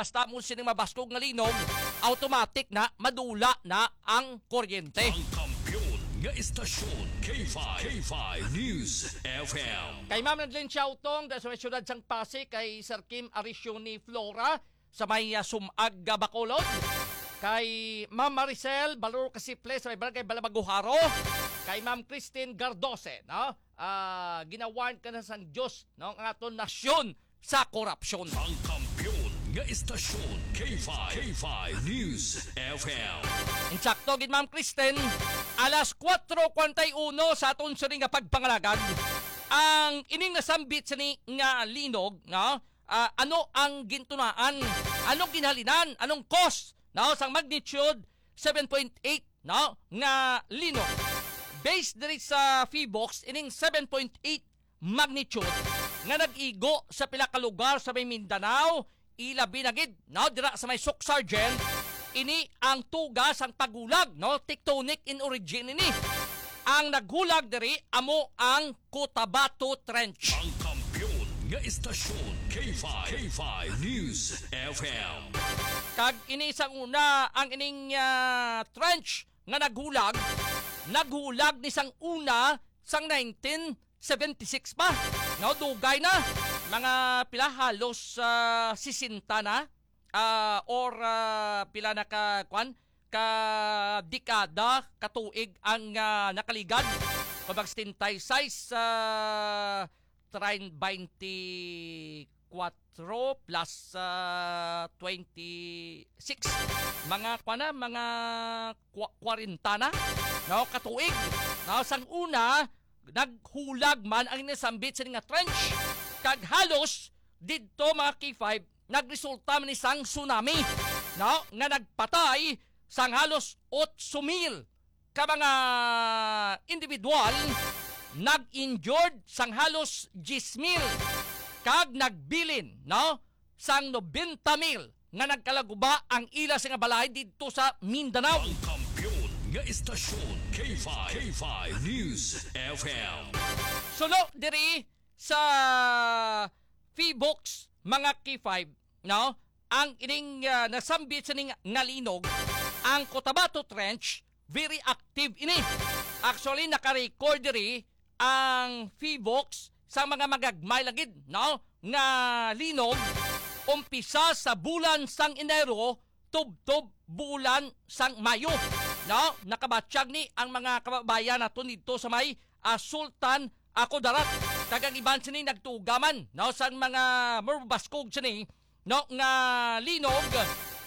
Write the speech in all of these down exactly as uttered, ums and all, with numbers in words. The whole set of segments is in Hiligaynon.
Basta mo sining mabaskog nga linog, automatic na madula na ang kuryente. Ang kampiyon nga istasyon, K five, K five News F M. Kay Ma'am Nadlin Chautong, da sa may siyudad sang Pasig, kay Sir Kim Arisioni Flora, sa may, ah, Sumag, ah, Bacolod. Kay Ma'am Maricel Balor Casiple, sa may Barangay Balabaguharo. Kay Ma'am Christine Gardose, no? Ah, ginawarn ka na sang Diyos, no? Ang aton nasyon sa korupsyon. Ang kampiyon nga istasyon, K five, K five News F M. Insakto gid, Ma'am Christine, alas kuwatro kuwarenta y uno sa aton sining nga pagpangalagad. Ang ining nasambit sini nga linog, no? Ah, ano ang gintunaan? Anong ginhalinan? Anong cause, no, sang magnitude seven point eight, no, nga linog? Based diri sa PHIVOLCS, ining seven point eight magnitude nga nag-igo sa pila ka lugar sa may Mindanao, ilabi na gid, no, dira sa may Sucsargen, ini ang tuga sang paghulag, no, tectonic in origin ini. Ang naghulag diri amo ang Cotabato Trench. Ang kampiyon nga istasyon, K five, K five News F M. Kag ini sang una, ang ining, ah, trench nga naghulag, naghulag ni sang una sang nineteen seventy-six pa. No, dugay na. Mga pila, halos, ah, sesenta na. Ah, or, ah, pila na ka, kwan, ka dekada, ka tuig ang, ah, nakaligad. Kumbaga, setenta y seis, ah, train twenty-four plus, ah, twenty-six. Mga, kwan na, mga kwa-, kwarenta na, no, ka tuig. No, sang una, naghulag man ang nasambit sini nga trench. Kag halos didto, mga K five, nagresulta man ni sang tsunami, no, nga nagpatay sang halos otso mil ka mga individual, nag-injured sang halos diyes mil, kag nagbilin, no, sang nobenta mil nga nagkalaguba ang ila sa nga balay didto sa Mindanao. Ang kampiyon nga istasyon, K five, K five News F M. Suno diri sa PHIVOLCS, mga K five, no? Ang ining, ah, nasambit sining nga linog, ang Cotabato Trench, very active ini. Actually, naka-record diri ang PHIVOLCS sa mga magagmay lagi, no, nga linog, umpisa sa bulan sang Enero tubtob bulan sang Mayo, no? Nakabatyag ni ang mga kababayan naton didto sa may, ah, Sultan, ah, Kudarat. Kag ang iban sini nagtuga man, no, sang mga mabaskog sini, no, nga linog,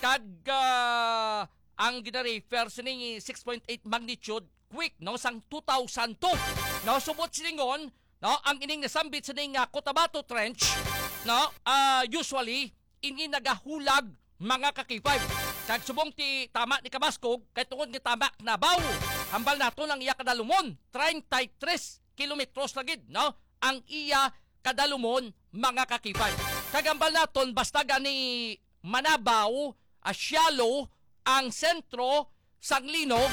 kag, ah, ang gina-refer sini six point eight magnitude quake, no, sang two thousand two. No, subot silingon, no, ang ining nasambit sini nga Cotabato Trench, no, ah, usually ini nagahulag, mga ka-K five. Kag subong ti tama ni kabaskog, kay tungod nga tama Nabaw, hambal naton ang iya kadalumon, treinta y tres kilometros na gid, no? Ang iya kadalumon, mga ka-K five. Kag hambal naton, basta gani manabaw, ah, shallow ang sentro sang linog,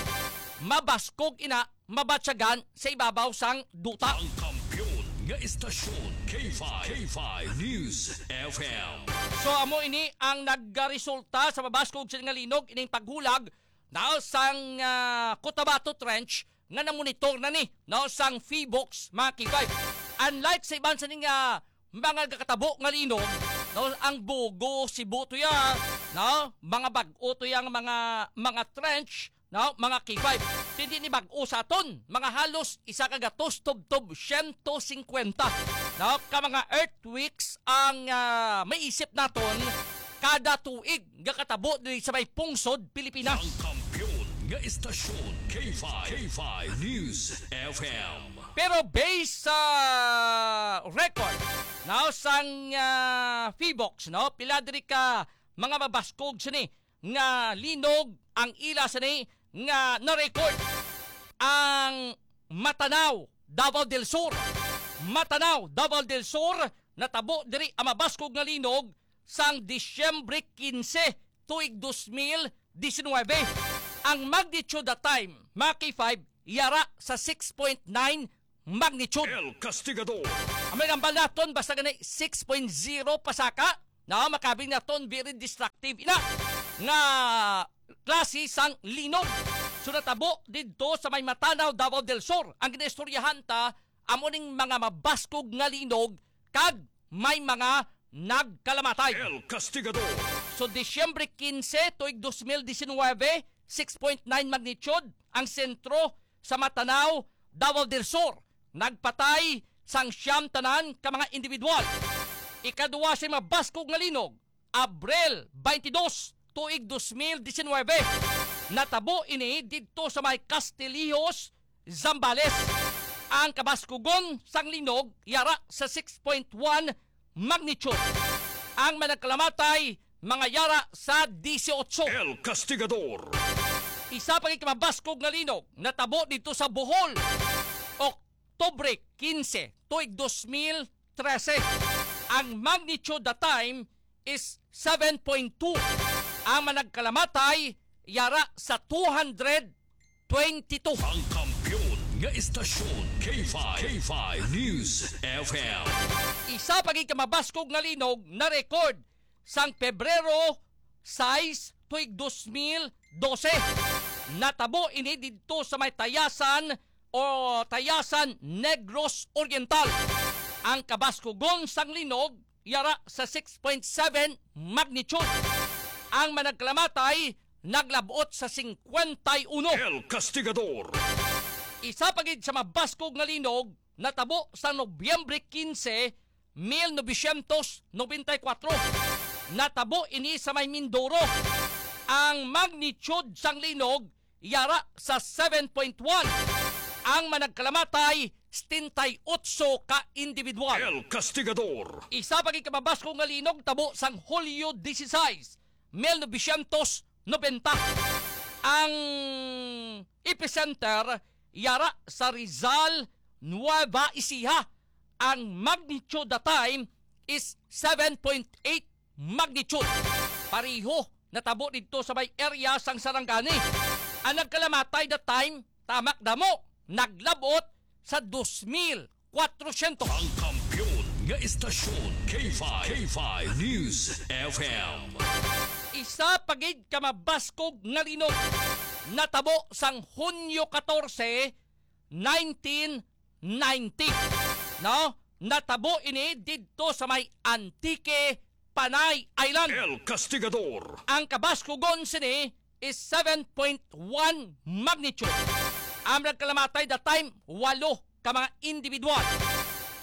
mabaskog ina, mabatyagan sa ibabaw sang duta. Ang kampiyon nga istasyon, K five, K five News F M. So, amo ini ang nagresulta sa mabaskog sini nga linog, ining paghulag na sang, ah, Cotabato Trench nga namonitor na ni, no, sang PHIVOLCS, mga K five. Unlike sa iban sini nga mga nagakatabo nga linog, no, ang Bogo, Cebu to ya, no, mga bag-o to yang mga, mga trench, no, mga K five. Hindi ni bag-o sa aton, mga halos isa ka gatos tubtob siyento singkwenta, no, ka mga earthquakes ang, ah, maisip naton kada tuig nga katabo diri sa may pungsod Pilipinas. Ang kampiyon nga istasyon, K five, K five News F M. Pero based sa record, no, sang, ah, PHIVOLCS, no, pila diri ka mga mabaskog sini nga linog ang ila sini nga na-record. Ang Matanao, Davao del Sur. Matanao, Davao del Sur, natabo diri ang mabaskog nga linog sang Disyembre quince, tuig dos mil diecinuebe. Ang magnitude that time, mga K five, yara sa six point nine magnitude. El Castigador. Ang may nambal naton, basta gani six point zero pasaka, Daw makabing naton very destructive ina nga klase sang linog. So natabo didto sa may Matanao, Davao del Sur. Ang ginaistoryahan ta, amo ning mga mabaskog nga linog kag may mga nagkalamatay. El Castigador. So, Disyembre quince, tuig dos mil diecinueve, six point nine magnitude ang sentro sa Matanao, Davao del Sur. Nagpatay sang siyam tanan ka mga individual. Ikaduwa sa mabaskog nga linog, Abril twenty-two, tuig dos mil diecinueve. Natabo ini didto sa may Castillejos, Zambales. Ang kabaskugon sang linog yara sa six point one magnitude. Ang managkalamatay, mga yara sa dieciocho. El Castigador. Isa pa gid ka mabaskog nga linog natabo didto sa Bohol, Oktubre quince, tuig dos mil trese. Ang magnitude that time is seven point two. Ang managkalamatay yara sa two hundred twenty-two. Ang kampiyon nga istasyon, K five, K five News F M. Isa pa gid ka mabaskog nga linog na record sang Pebrero sais, tuig dos mil dose. Natabo ini didto sa may Tayasan o Tayasan, Negros Oriental. Ang kabaskugon sang linog yara sa six point seven magnitude. Ang managkalamatay naglabot sa singkwenta y uno. El Castigador. Isa pa gid sa mabaskog nga linog natabo sa Nobyembre quince, mil novecientos nobenta y kuwatro. Natabo ini sa may Mindoro. Ang magnitude sang linog yara sa seven point one. Ang managkalamatay, setenta y ocho ka individual. El Castigador. Isa pa gid ka mabaskog nga linog tabo sang Hulyo dieciséis, mil novecientos nobenta. Ang epicenter yara sa Rizal, Nueva Ecija. Ang magnitude that time is seven point eight magnitude. Pareho natabo didto sa may area sang Sarangani. Ang nagkalamatay that time, tamak damo, naglabot sa dos mil kwatrosyentos. Ang kampiyon nga istasyon, K five, K five News F M. Isa pa gid ka mabaskog nga linog natabo sang Hunyo katorse, nineteen ninety. No? Natabo ini didto sa may Antique, Panay Island. El Castigador. Ang kabaskugon sini is seven point one magnitude. Ang nagkalamatay that time, walo ka mga individual.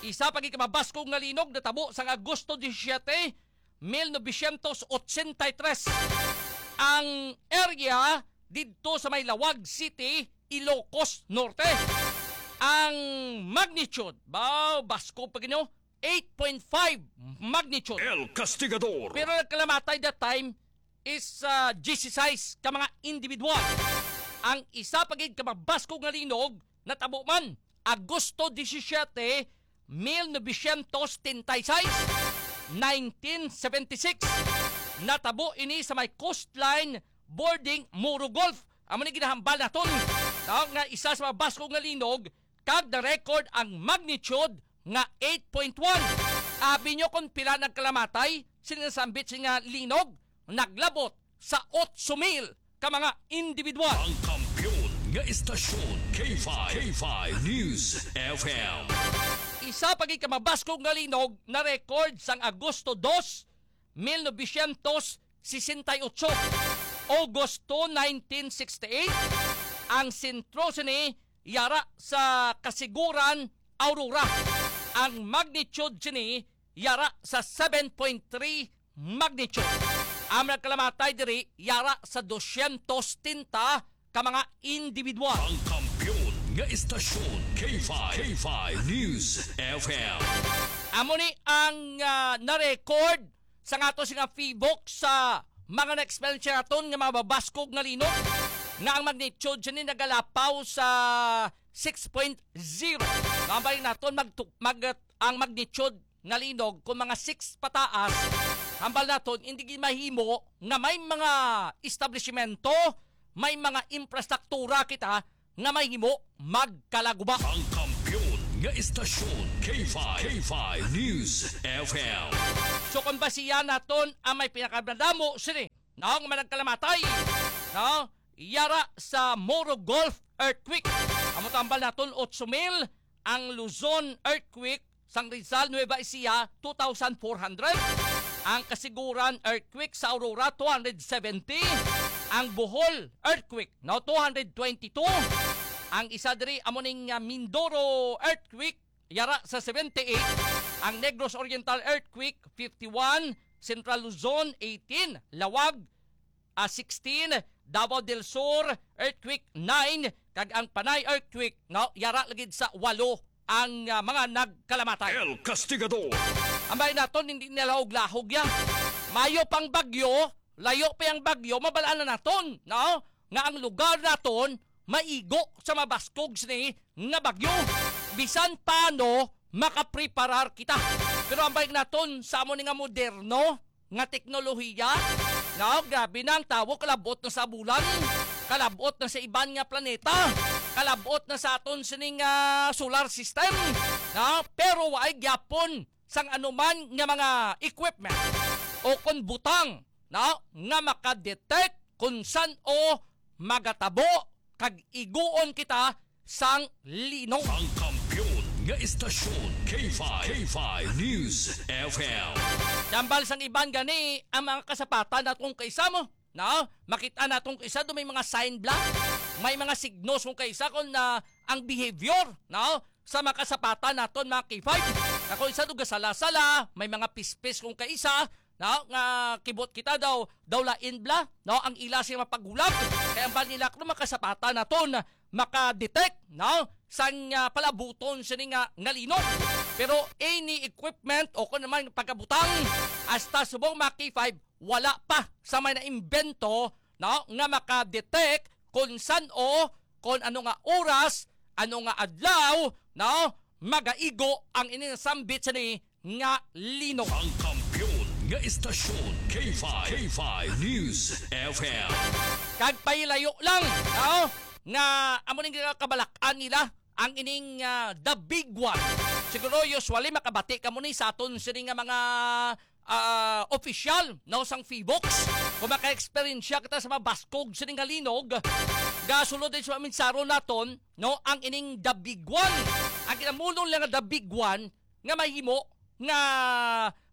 Isa pa gid ka mabaskog nga linog natabo sang Agosto disisiete, mil novecientos ochenta y tres. Ang area didto sa may Laoag City, Ilocos Norte. Ang magnitude, baw, baskog pa gid, no? Eight point five magnitude. El Castigador. Pero nagkalamatay that time is, ah, dieciséis ka mga individual. Ang isa pa gid ka mabaskog nga linog natabo man Agosto disisiete, mil novecientos setenta y seis, nineteen seventy-six. Natabo ini sa may coastline bording Moro Gulf. Amo ni ginahambal naton, no, nga isa sa mga baskog nga linog, kag na-record ang magnitude nga eight point one. Abi nyo kung pila nagkalamatay sini nga sambit sini nga linog? Naglabot sa otso mil ka mga individual. Ang kampiyon nga istasyon, K five, K five News F M. Isa pa gid ka mabaskog nga linog na-record sang Agosto dos, mil novecientos sesenta y ocho, Agosto nineteen sixty-eight. Ang sentro sini yara sa Kasiguran, Aurora. Ang magnitude sini yara sa seven point three magnitude. Ang nagkalamatay diri yara sa dosyentos setenta ka mga individual. Ang kampiyon nga istasyon, K five, K five News F M. Amo ni ang, ah, na-record sa ato sini nga PHIVOLCS sa mga na-experience naton nga mga mabaskog nga linog, nga ang magnitude sini nagalapaw sa six point zero. Hambal naton mag, mag, ang magnitude nga linog kung mga six pataas, hambal naton, hindi gid mahimo nga may mga establishmento, may mga infrastruktura kita nga mahimo magkalaguba. Ang kampiyon nga istasyon, K five, K five News F M. So, kung basihan naton ang may pinakadamo sini, no, nga managkalamatay, no, yara sa Moro Gulf earthquake. Amo tambal naton, otso mil, ang Luzon earthquake sang Rizal, Nueva Ecija, two thousand four hundred. Ang Kasiguran earthquake sa Aurora, two hundred seventy. Ang Bohol earthquake, no, two hundred twenty-two. Ang isa diri amo ning, ah, Mindoro earthquake, yara sa seventy-eight. Ang Negros Oriental earthquake, fifty-one. Central Luzon, eighteen. Laoag, ah, sixteen, Davao del Sur earthquake, nine, kag ang Panay earthquake, no, yara lagi sa walo ang, ah, mga nagkalamatay. El Castigador. Ambay naton, hindi nalahog-lahog yan. Mayo pang bagyo, layo pa ang bagyo, mabalaan na naton, no, nga ang lugar naton maigo sa mabaskog sini nga bagyo. Bisan paano, makapreparar kita. Pero ambay naton sa amo ni nga moderno nga teknolohiya, no, grabe na ang tawo, kalabot na sa bulan, kalabot na sa iban nga planeta, kalabot na sa aton sining, ah, solar system, no? Pero waay gyapon sang anuman nga mga equipment o kon butang, no, nga makadetect kung san-o magatabo kag iguon kita sang linog. Ang kampiyon nga istasyon, K five, K five News F M. Tambal sang iban gani ang mga kasapatan naton kaisa mo, no? Makita naton kaisa do may mga sign bla, may mga signos kung kaisa kung na ang behavior, no? Sa mga kasapatan naton, mga K five. Ako isa do gasala-sala, may mga pispis kung kaisa, no? Nga kibot kita daw, daw lain bla, no? Ang ila siya mapaghulag. Kaya ang nila kuno makasapatan naton, makadetect, no? Sang, ah, palabuton sini nga, nga linog. Pero any equipment o kung naman pagkabutang, hasta subong mga K five, wala pa sa may naimbento, no? Nga makadetect kung san-o, kung ano nga oras, ano nga adlaw, no? Magaigo ang ini nga sambit sini nga linog. Ang kampiyon nga istasyon, K five, K five News F M. Kag pailayo lang, no? Nga amo ning kabalak-an nila ang ining, ah, the big one. Siguro usually makabati kamo ni sa aton sini nga mga, ah, opisyal, no, sang PHIVOLCS. Kung maka-eksperyensya kita sa mabaskog sini nga linog, gasulod din sa minsaron naton, no, ang ining the big one. Ang kinamulong lang nga the big one, nga mahimo nga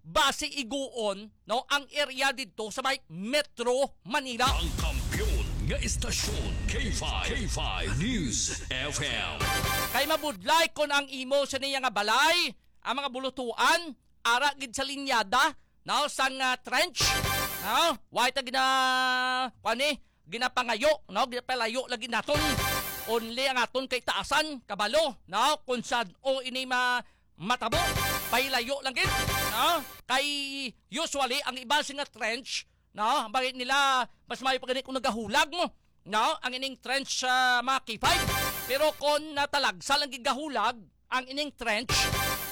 base iguon, no, ang area didto sa may Metro Manila. Ang kampiyon nga istasyon, K five, K five News F M. Kay mabudlay kon ang imo sa niya nga balay, ang mga bulutuan, ara gid sa linyada, no, sang, ah, trench, no, way ta gina-, kuwan ni, ginapangayo, no? Ginapalayo lagi naton. Only ang aton kay taasan, kabalo, no? Kung san-o ini ma-, matabo, pailayo lang gid, no? Kay usually, ang iba sing nga trench, no? Bakit nila, mas maayo pa gani kung nagahulag mo, no? Ang ining trench sa mga K five. Pero kung natalagsa lang gid gahulag, ang ining trench,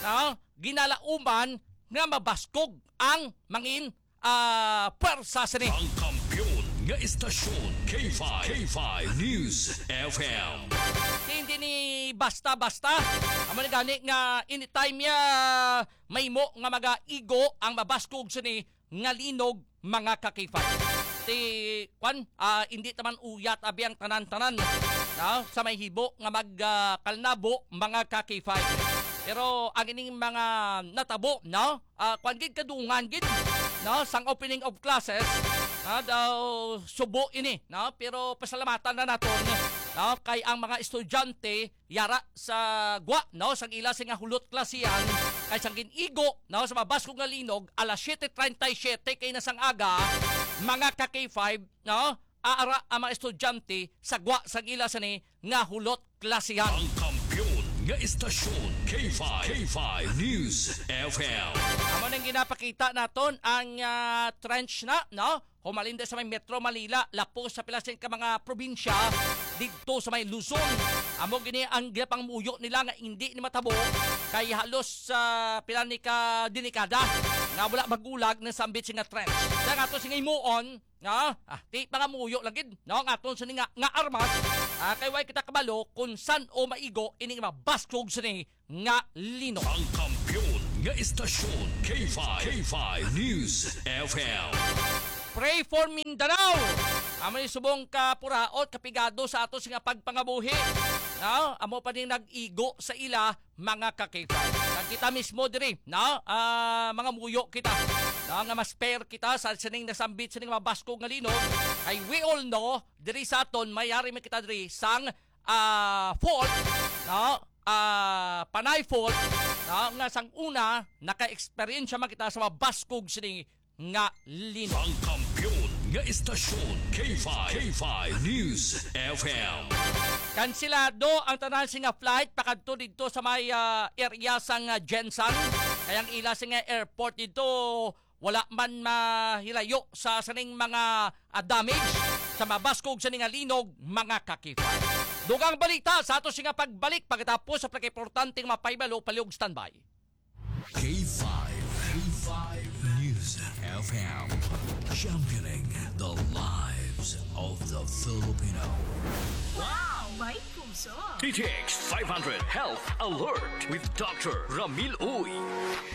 no? Ginalauman nga mabaskog ang mangin, ah, pwersa sini. Ang kampiyon nga istasyon, K five, K five News F M. Hindi ni basta-basta. Amo ni gani nga anytime ya mahimo nga magaigo ang mabaskog sini nga linog, mga ka-K five. Ti, kwan, ah, hindi taman uyat abi ang tanan-tanan, no? Sa may hibo nga mag, ah, kalnabo, mga ka-K five. Pero ang ining mga natabo, no? Ah, kwan gid, kadungan gid, no? Sang opening of classes, ah, daw subo ini, no? Pero pasalamatan na naton, no? Kay ang mga estudyante yara sa gwa, no, sang ila sing nga hulot klasihan, kay sang gin-igo, no, sa mabaskog nga linog, alas siete treinta y siete kay na sang aga, mga ka-K five, no, aara ang mga estudyante sa gwa sang ila sini nga hulot klasihan. Ang kampiyon nga istasyon, K five, K five News F M. Amo nang ginapakita naton ang, ah, trench na, no? humalin sa may Metro Manila, lapos sa pila sing ka mga probinsya didto sa may Luzon. Amo gini ang ginapangamuyo nila nga hindi ni matabo kay halos sa pila ni ka denikada nga wala magulag na sambit sing nga trench. Sa nga ato sing himuon, nga, ah, ti pangamuyo lang gid, no, nga aton sini nga, nga armas, ah, kay way kita kabalo kung san-o maigo ining mabaskog sini nga linog. Ang kampiyon nga istasyon, K five, K five News F M. Pray for Mindanao. Amo ni subong ka puraot, kapigado sa ato nga pagpangabuhi. No? Amo pa ning nag-igo sa ila, mga ka-K five. Kag kita mismo diri, no? Ah, mangamuyo kita. No? Nga mas fair kita sa sining nasambit sining mabaskog nga linog. Kay we all know, diri sa aton, mayari man kita diri sang ah, fault, no? Ah, panay fault, no? Nga sang una, naka-eksperyensya man kita sa mabaskog sini nga linog. Ang kampiyon nga istasyon, K five, K five News F M. Kansilado ang tanan sing nga flight pakadto didto sa may, ah, area sang, ah, Gensan. Kay ang ila sing nga airport didto wala man mahilayo sa sining mga, ah, damage sa mabaskog sini nga linog, mga ka-K five. Dugang balita sa ato sing nga pagbalik pagkatapos sa pinakaimportanteng mapahibalo, palihog standby. K five, K five News F M, championing the lives of the Filipino. Wow! May puso! D T X five hundred Health Alert with Doctor Ramil Uy.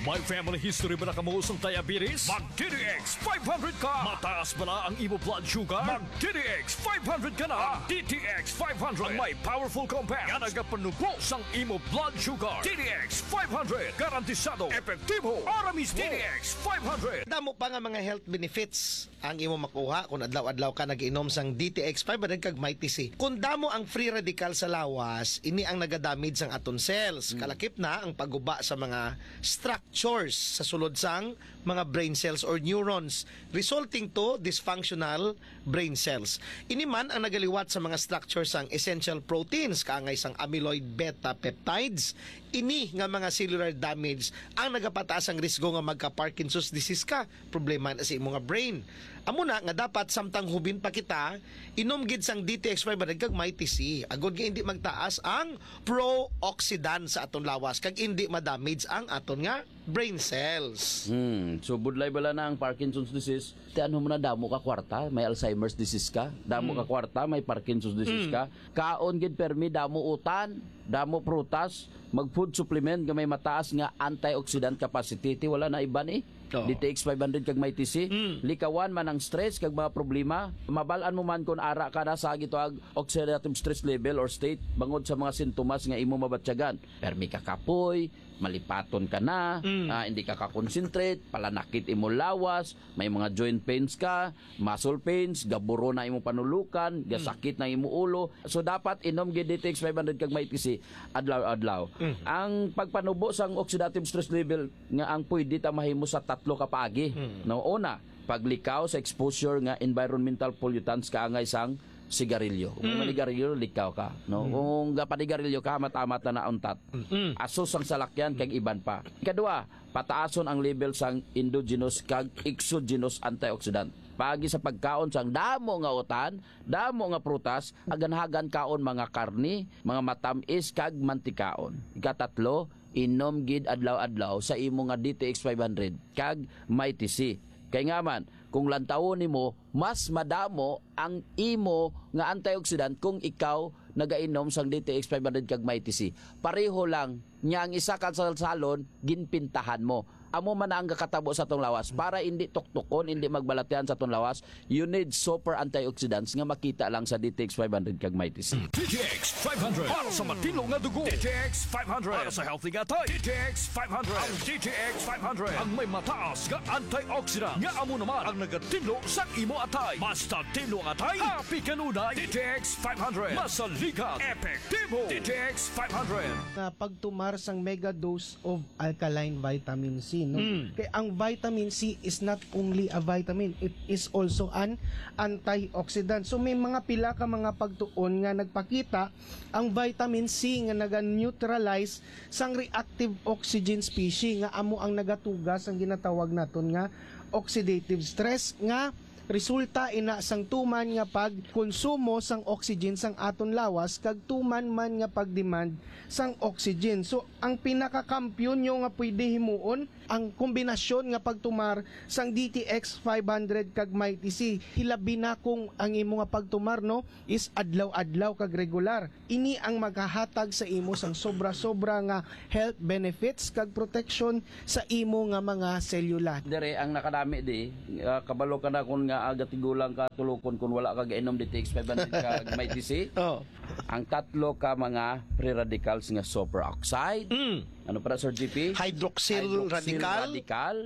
May family history ba na kamo sang diabetes? Mag D T X five hundred ka! Mataas bala ang imo blood sugar? Mag D T X five hundred ka na! Ang D T X five hundred ang may powerful compound nga nagapanubo sang imo blood sugar. D T X five hundred, garantisado, epektibo, ara mismo. D T X five hundred. Damo pa nga mga health benefits ang imo makuha kung adlaw-adlaw ka nag-inom sang D T X five hundred kag Mighty C. Kung damo ang free radical sa lawas, ini ang nagadamage sang aton cells. Mm. Kalakip na ang pagguba sa mga structures sa sulod sang mga brain cells or neurons, resulting to dysfunctional brain cells. Ini man ang nagaliwat sa mga structure sang essential proteins, kaangay sang amyloid beta peptides. Ini nga mga cellular damage ang nagapataas ang risgo nga magka-Parkinson's disease ka. Problema na sa imo nga brain. Amo na nga dapat samtang hubin pa kita, inom gid sang D T X five hundred kag Mighty C, agod nga indi magtaas ang pro-oxidant sa aton lawas kag indi ma-damage ang aton nga brain cells. Hmm, so budlay bala na ang Parkinson's disease, ti ano mo na, damo ka kwarta, may Alzheimer's disease ka, damo ka Hmm. kwarta, may Parkinson's disease Hmm. ka. Kaon gid permi, damo utan, damo prutas, mag food supplement nga may mataas nga antioxidant capacity, ti wala na iban eh. Oo. D T X five hundred kag Mighty C. Mm. Likawan man ang stress kag mga problema. Mabal-an mo man kon ara ka na sa gitawag oxidative stress level or state bangod sa mga sintomas nga imo mabatyagan. Permi ka kapoy, malipaton ka na, Mm. ah, hindi ka ka-concentrate, palanakit imo lawas, may mga joint pains ka, muscle pains, gaburo na imo panulukan, Mm. gasakit na imo ulo. So, dapat inom gid D T X five hundred kag Mighty C adlaw-adlaw. Mm. Ang pagpanubo sang oxidative stress level nga ang pwede ta mahimo sa tatlo ka paagi. Mm. No, una, paglikaw sa exposure nga environmental pollutants kaangay sang sigarilyo. Kung Mm. manigarilyo, likaw ka, no? Mm. Kung gapanigarilyo ka, matamat na nauntat. Mm. Aso sang salakyan kag iban pa. Ikadua, pataason ang level sang endogenous kag exogenous antioxidant. Paagi sa pagkaon sang damo nga utan, damo nga prutas, aganhagan kaon mga karni, mga matamis kag mantikaon. Ikatatlo, inom gid adlaw-adlaw sa imo nga D T X five hundred kag Mighty C. Kay nga man, kung lantawon nimo, mas madamo ang imo nga antioxidant kung ikaw nagainom sang D T X five hundred kag Mighty C. Pareho lang niya ang isa ka salsalon, ginpintahan mo. Amo man na ang gakatabo sa atong lawas. Para hindi tuktukon, hindi magbalatian sa atong lawas, you need super antioxidants nga makita lang sa D T X five hundred kag Mighty C. D T X five hundred para sa matinlo nga dugo. D T X five hundred para sa healthy nga atay. D T X five hundred. Ang D T X five hundred ang may mataas nga antioxidant nga amo naman ang nagatinlo sa imo atay. Basta tinlo ang atay, happy kanunay. D T X five hundred. Masaligan, epektibo. D T X five hundred. Na pagtumar sang mega dose of alkaline vitamin C, no? Mm. Kay ang vitamin C is not only a vitamin, it is also an antioxidant. So may mga pila ka mga pagtuon nga nagpakita ang vitamin C nga naga-neutralize sang reactive oxygen species nga amo ang nagatuga sang ginatawag naton nga oxidative stress nga Resulta ina sang tuman nga pagkonsumo sang oxygen sang aton lawas kag tuman man nga pagdemand sang oxygen. So, ang pinakakampiyon nyo nga pwede himuon, ang kombinasyon nga pagtumar sang D T X five hundred kag Mighty C. Hilabi na kung ang imo nga pagtumar, no, is adlaw-adlaw kag regular. Ini ang maghahatag sa imo sang sobra-sobra nga health benefits kag protection sa imo nga mga selula. Dire ang nakadami di, ah, kabalo ka na kun nga, ah, gatigulang ka tulukon kun wala ka gainom D T X five hundred kag Mighty C. Oh. Ang tatlo ka mga free radicals nga superoxide. Mm. Ano para, Sir G P? Hydroxyl radical, radical,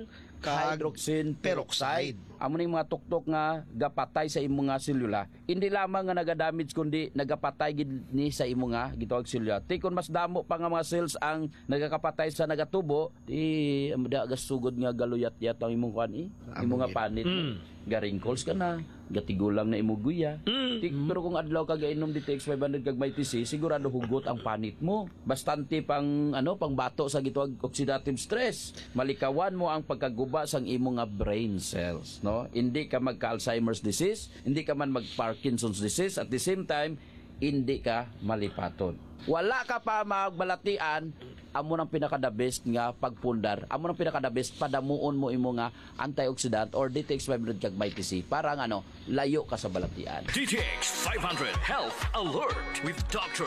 kag hydroxyl peroxide. Peroxide. Amo ning mga tuktok nga gapatay sa imong nga selula. Hindi lamang nga nagadamage, kundi nagapatay gid ni sa imo nga gitawag selula. Ti, kung mas damo pa nga mga cells ang nagakapatay sa nagatubo, ti, da gasugod nga galuyat-yat ang imong kuan, eh. Imo nga panit. Mm. Ga-wrinkles ka na, gatigulang na imo guya. Mm. Ti, pero kung adlaw ka gainom D T X five hundred kag Mighty C, sigurado hugot ang panit mo. Bastante pang, ano, pang bato sa gitawag oxidative stress. Malikawan mo ang pagkaguba sang imo nga brain cells, no? Hindi ka magka-Alzheimer's disease, hindi ka man mag-Parkinson's disease, at the same time, hindi ka malipaton. Wala ka pa magbalatian, amo nang pinaka the best nga pagpundar, amo nang pinaka the best padamuon mo imo nga antioxidant or D T X five hundred kag Mighty C para nga, ano, layo ka sa balatian. D T X five hundred Health Alert with Doctor